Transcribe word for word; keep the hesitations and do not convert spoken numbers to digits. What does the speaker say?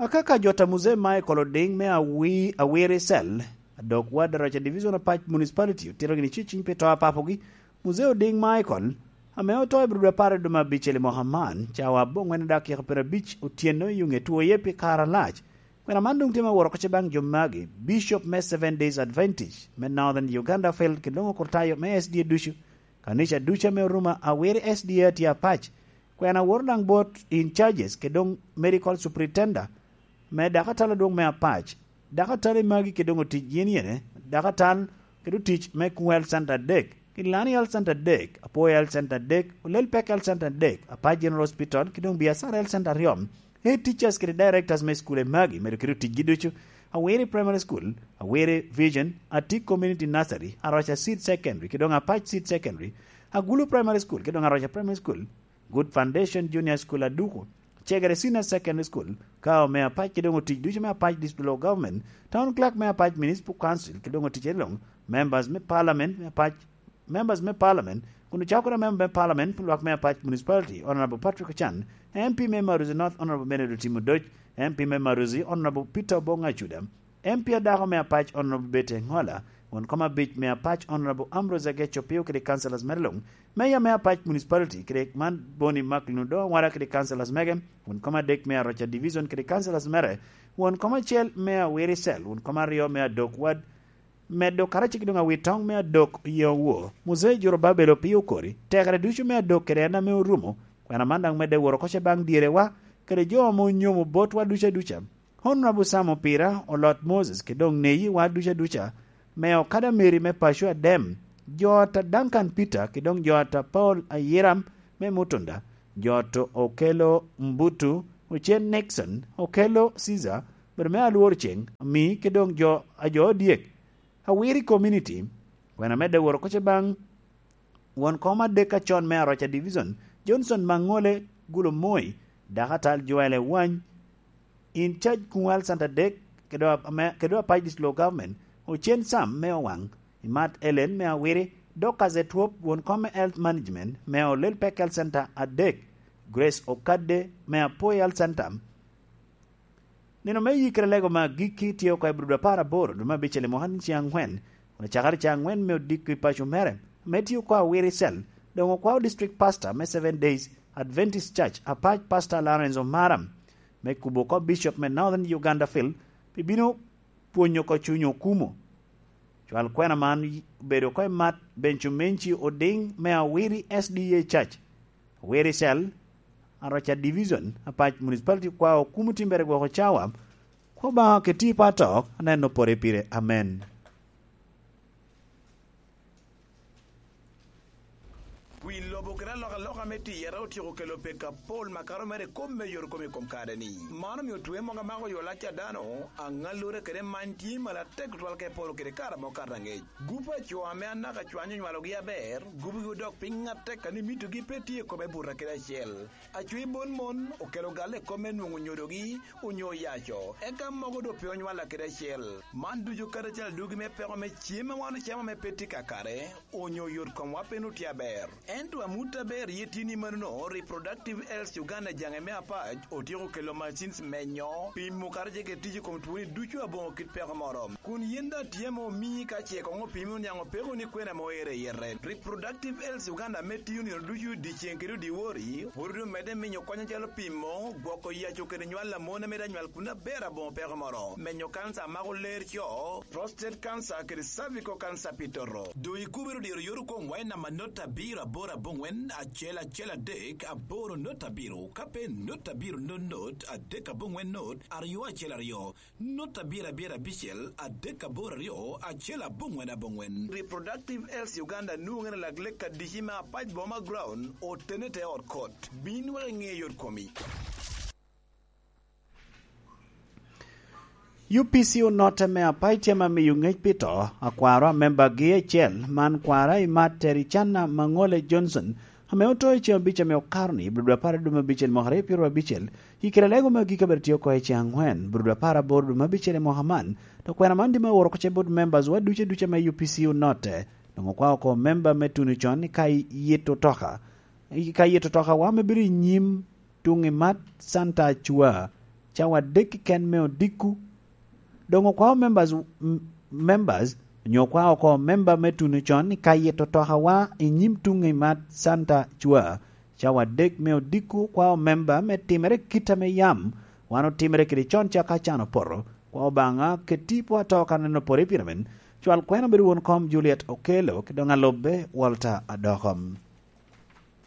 Akaka jot a Muzee Michael Oding me Awi-, Awiri Cell, adok wad Araca Division Apac Municipality otito gini ceciny pi to a papogi, Muzee Oding Michael, ame oto i Abril apar i dwe me abicel i mwaka man, cawa aboŋwen dakika pyerabic otyeno i Yunge twoye pi kare alac. Kwena man doŋ tye me woro kocce baŋ jo magi, Bishop me Seven Days Adventist me Northern Uganda Field, kede doŋ okurtayo me S D A ducu, kanica ducu ame orumo Awiri S D A tye apac. Kwena woro daŋ bot in charges kede doŋ medical superintendent me dakatal adwoŋ me apac. Dakatal i magi kede doŋ otic yen yene, dakatal kede otic me Kuŋ Health Center adek, Kilani Health Center adek, Apoyo Health Center adek, Olel Pek Health Center adek, Apac General Hospital, kede doŋ Biacara Health Center aryo. Head teachers kede directors me school i magi, medo kede oticgi ducu, Awiri Primary School, Awiri Vision, Atik Community Nursery, Aroca Seed Secondary, kede doŋ Apac Seed Secondary, Agulu Primary School, kede doŋ Aroca Primary School, Good Foundation Junior School Aduku, Cegere Senior Secondary School, ka ome apac kede doŋ otic ducu me apac District Local Government, Town Clerk me apac Municipal Council kede doŋ otic eloŋ, members me Parliament me apac, members me Parliament, kun ocako kede member me Parliament pi lwak me apac Municipality, Honorable Patrick Ochan, M P me Maruzi North, Honorable Benedict Timodoc, M P me Maruzi, Honorable Peter Obong Acuda, M P adako me apac Honorable Betty Engola, won kom abic me apac Honorable Ambrose Ageco Opio kede councillors mere luŋ, Mayor me apac Municipality kede man Boni Mark Lunudo Awara kede councillors mege, won kom adek me Aroca Division kede councillors mere, won kom acel me Awiri Cell, won kom aryo me Adok Ward, medo karacel ki doŋ Awitoŋ me Adok Yeowo, Muzee Jorobabel Opio Okori, tekere ducu me Adok kede en ame orumo, kwena man daŋ medde woro kocce baŋ dyerewa, kede jo ame onyomo botwa duca duca. Honorable Sam Opira, Olot Moses, kede doŋ Neyi wa duca duca, me Okada Mary me paco Adem, jo ata Duncan Peter, kede doŋ jo ata Paul Ayiram me Mutunda, jo ata Okelo Mbutu, Ocen Nixon, Okelo Caesar, bedo me Alwor Ceng, Ami, kede doŋ jo a jo odyek, Awiri Community, kwena medde woro kocce baŋ won kom adek acon me Aroca Division, Johnson Maŋole Gulo Moi, dakatal Joel Ewany, in charge Kuŋ Health Center adek, kede wa-, ame-, kede wa Apac District Local Government, Ocen Sam me Owaŋ, Imat Ellen me Awiri, Dorcas Etwop, won kom me Health Management me Olel Pek Health Center adek, Grace Okadde me Apoi Health Center. Nino me yikere lego me agikki tye oko i Abril apar aboro, dwe me abicel i mwaka ni ceŋ aŋwen, kun ocakere ceŋ aŋwen me odiko i paco mere, ame tye oko Awiri Cell, doŋ okwao District Pastor me Seven Days Adventist Church, Apac Pastor Lawrence Omara, me kubo oko Bishop me Northern Uganda Field, pi bino pwonyo oko cuny okumo. Cwal kwena man obedo oko i Mat Bencumenci Oding me Awiri S D A Church, Awiri Cell, Aroca Division, Apac Municipality kwao kumo timbere gwoko cawa, kwo Obaŋa keti pato, aneno pore pire. Amen. Wi lobo kede alokaloka me tiyere otyeko kelo peko apol makato mere i kop me yot kom i kom kare-ni. Man omio twe mogo amako yo lac a dano, aŋallure kede many tye malo atek tutwal ka eporo kede kare amo kato aŋec. Gup a co ame anaka cwany onywalogi aber, gubogi odok piny atek a ni mitogi pe tye i kome buto kede acel. Acwi bon mon okelo galle i kop me nwoŋo nyodogi onyo oyaco, eka mogo doŋ pe onywalla kede acel. Man ducu kadi acel adugi me peko me cem a wan ocamo ame pe tye kakare, onyo yot komwa pe nwoŋo tye aber. Ento amut aber ye tye ni manono, Reproductive Health Uganda jaŋe me apac otyeko kelo machines menyo, pimo kadi ce kede tic i kom twoni ducu aboŋo kit peko moro. Kun yen daŋ tye ame omii ka ce koŋ opimi oniaŋ opeko ni kwena ame oero i yete. Reproductive Health Uganda ame tiyo nino ducu dyeceŋ kede odyewor, pwod omedde miyo kony acalo pimo, gwoko yaco kede nywal a mon ame daŋ nywal kun aber aboŋo peko moro, menyo kanca a mako ler co, prostate cancer kede cervical cancer pi toto. Doŋ ikubere odyero yot okwoŋ wa i namba not abiro aboro aboŋwen acel acel adek aboro not abiro, ka pe not abiro not not adek aboŋwen not aryo acel aryo, not abiro abiro abicel adek aboro aryo acel aboŋwen aboŋwen. Reproductive Health Uganda nwoŋere lak lek adici me apac Boma Ground, otene te ot kot. Bin wek iŋe yot komi. U P C onotte me apac tye ame miyo ŋec pi to a kwaro a membagi acel, man kwara i Mat Tericana Maŋole Johnson, ame oto i ceŋ abic ame okato-ni, Abril apar i dwe me abicel mwaka aryo pyeraryo abicel, i kare lego me agikki abiro tye oko i ceŋ aŋwen, Abril apar aboro dwe me abicel i mwaka man. Dok kwena man tye me oro kocce bot members wa ducu aduca me U P C onotte. Doŋ okwao oko member me tuno con i ka yito toka, i ka yito toka wa me bedo i nyim tuŋ i Mat Santa Acua. cawa adek keken me odiko. Doŋ okwao members, m- members onyo okwao oko member me tuno con i ka yito tokawa i nyim tuŋ i Mat Santa Cwa. Cawa adek me odiko okwao member me timere kit ame yam wan otimere kede con caka can opoto. Kwa Obaŋa keti po ato ka neno pore pire men. Cwal kweno bedo won kom Juliet Okelo ki doŋ alobbe Walter Adoko.